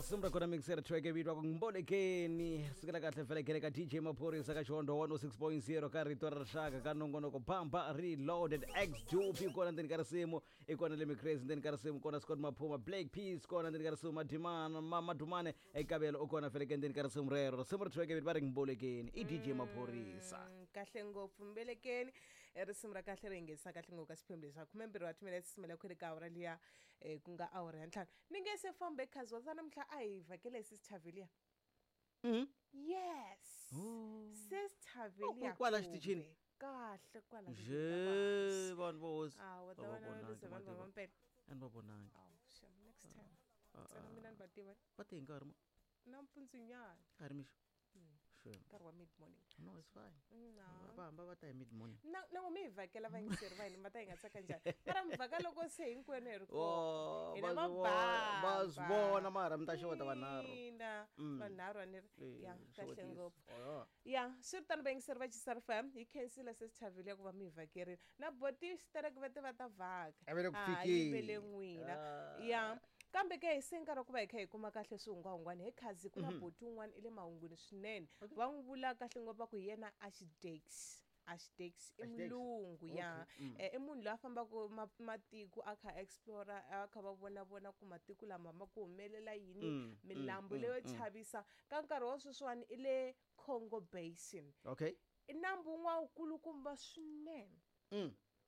Risimu ra kona mixer track vito ku Mbolekeni. Sukela kahle felekele ka DJ Maphorisa ka Xihondlo 106.0 ka Rito ra Rixaka ka nongonoko Bamba Reloaded. X Dupe kona ndzeni ka risimu, i kona Lemmy Crazy ndzeni ka risimu, kona Scott Maphuma, Black Peace kona ndzeni ka risimu, Madimana Madumane Ekabelo u kona feleke ndzeni ka risimu rero. Risimu ri track vito va ri Mbolekeni i DJ Maphorisa. Kahle ngopfu Mbelekeni, risimu ra kahle ri yingisa kahle ngopfu ka xiphemu lexi xa 12 wa timinetse simela khwiri ka awara liya, ku nga awara ya 5. Ni nge se fambe khazi wa namuntlha a hi vhakele sis Tavelia. Yes. Oh. Sis Tavelia. Oh, kwala xitichini? Kahle kwala. Je vanhu vo hosi. Ah, wa Va ta va vona vonangi, lose vanhu va mativa. mampela. A ni va vonangi. Aw, shem, next time. Ntsena mina ni va tiva. Va te hi nkarhi mo Nampundzunyana. ka ri mixo. Sure. Nkarhi wa mid morning. No, it's fine. No. Va hamba va ta hi mid morning. Na na mi hi vhakela vayingiseri va hina va ta hi nga tsaka njhani. Mara mi vhaka loko se hinkwenu hi ri kona. Oh, Hina va swi vona, va swi vona mara mi ta xeweta vanharhu. Ina, vanharhu a ni ri. Ya, kahle Xewetisa. ngopfu. Oh, Ya, swi ri tano vayingiseri va Chisar FM, hi khensile sis Thavile ku va mi hi vhakerile. Na boti xitereke va te va ta vhaka. A va le ku Ah, fikeni. yi vele n'wina. Ah. Ya. Kambe ke se nkarhi wa ku va hi kha hi kuma kahle swihungwahungwani he khazi ku na boti un'wana i le mahungwini swinene. Va n'wi vula kahle ngopfu va ku hi yena Ashdex. Ashdex i Ashdex? mulungu ya. I munhu loyi a fambaka matiko a kha explore, a kha va vona vona ku matiko lama ma ku humelela yini, milambu leyo chavisa. Ka nkarhi wa sweswiwani i le Congo Basin. Okay. I nambu wun'wana wukulukumba swinene.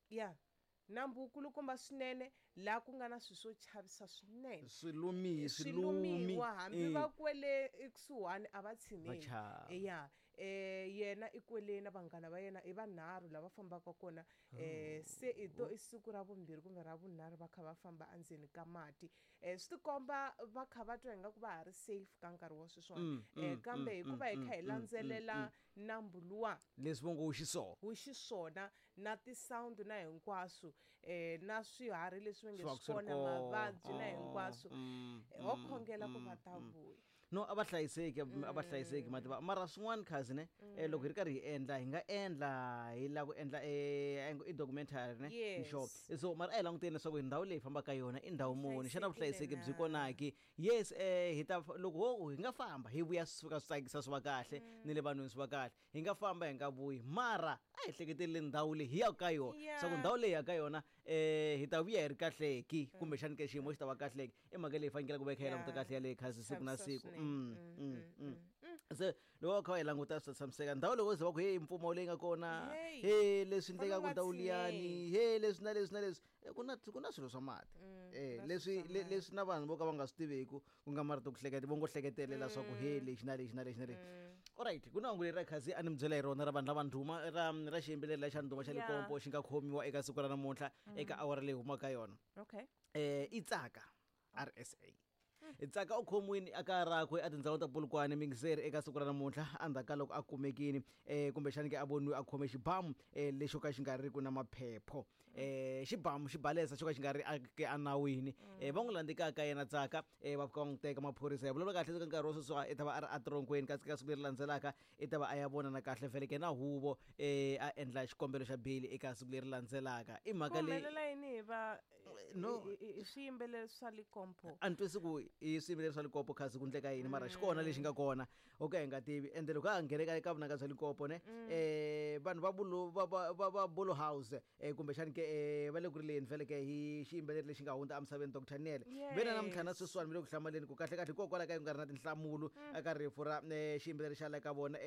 Ya. Nambu wukulukumba swinene laha ku nga na swilo swo chavisa swinene. Swilumi, Swilumiwa hambi Eh. va kwele ekusuhani a va tshineli. Va chava. Ya. Yena i kwele na vanghana va yena i vanharhu lava fambaka kona. Se i to i siku ra vumbirhi kumbe ra vunharhu va kha va famba endzeni ka mati. Swi tikomba va kha va twa ingaku va ha ri safe ka nkarhi wa sweswiwani. Kambe hikuva hi kha hi landzelela nambu luwa Leswi vo ngo wu xiswona. wu xiswona na ti-sound na hinkwaswo, na swiharhi leswi va nge Swi va swi swi ri kona, kona. mavabyi na Ah, hinkwaswo. Ho khongela ku va ta vuya. No, a va hlayiseki, a va hlayiseki mativa. Mara swin'wana khazi ne, loko hi ri karhi hi endla, hi nga endla hi lava ku endla i documentary ne. Yes. Sure. So mara a hi languteni leswaku ndhawu leyi hi fambaka ka yona i ndhawu muni, xana Hlayisekile vuhlayiseki byi na? kona ki? Yes, hi ta loko ho hi nga famba hi vuya swi fika swi tsakisa swi va kahle ni le vanhwini swi va kahle. Hi nga famba hi nga vuyi, mara a hi hleketeleli ndhawu leyi hi yaka ka yona. Yeah. Swa ku ndhawu leyi hi yaka ka yona, hi ta vuya hi ri kahle ki, kumbexani ke xiyimo xi ta va kahle ki. I mhaka leyi fanekele ku va hi kha hi languta Yeah. kahle yaleyo khazi siku na Chavisa siku. swinene. Se loko va kha va yi languta swi ta tshamiseka. Ndhawu loko ze va ku hey mpfumawulo leyi nga kona, Hey. hey leswi Fana endlekaka u nga ndhawu liyani, tshineli. hey leswi na leswi na leswi. Ku na swilo swa mati. Ku na Leswi swilo swa mati. leswi na vanhu vo ka va nga swi tiveku, ku nga marito ku hleketa, vo ngo hleketelela swa ku hey lexi na lexi na lexi na lexi. Alright, ku na hungu leri ra khazi a ni mi byela hi rona ra vanhu lava ndhuma ra xiyimbeleri lexa ndhuma xa Yeah. Limpopo xi nga khomiwa eka siku ra namuntlha eka awara leyi humaka ka yona. Okay. I Tsaka RSA. Tsaka u khomiwile a kaya rakwe a tindhawini ta Polokwane Mingiseri eka siku ra namuntlha endzhaku ka loko a kumekile, kumbexani ke a voniwe a khome xibamu, lexo ka xi nga ri ku na maphepho. Xibamu xibalesa xo ka xi nga ri ke enawini. Va n'wi landzeka ka yena Tsaka, va fika va n'wi teka maphorisa. Ya vulavula kahle eka nkarhi wa sweswi i ta va a ri etronkweni, kasi ka siku leri landzelaka i ta va a ya vonana kahle vhele ke na huvo, a endla xikombelo xa beyili eka siku leri landzelaka. I mhaka Ku leyi humelela yini hi va No. i swiyimbeleri swa Limpopo? A ni twisi ku i swiyimbeleri swa Limpopo khazi ku endleka yini, mara xi kona lexi nga kona o ka hi nga tivi. Ende loko a nghene ka vunanga bya Limpopo ne, vanhu va Bulu, va, va, va, va Bulu House, kumbexani ke, va le ku rileni vhele ke hi xiyimbeleri lexi nga hundza emisaveni Dr Nele. Ve na namuntlha na sweswiwani mi le ku hlamaleni ku kahle kahle hikokwalaho ka ku nga ri na tinhlamulo eka rifu ra xiyimbeleri xa le ka vona.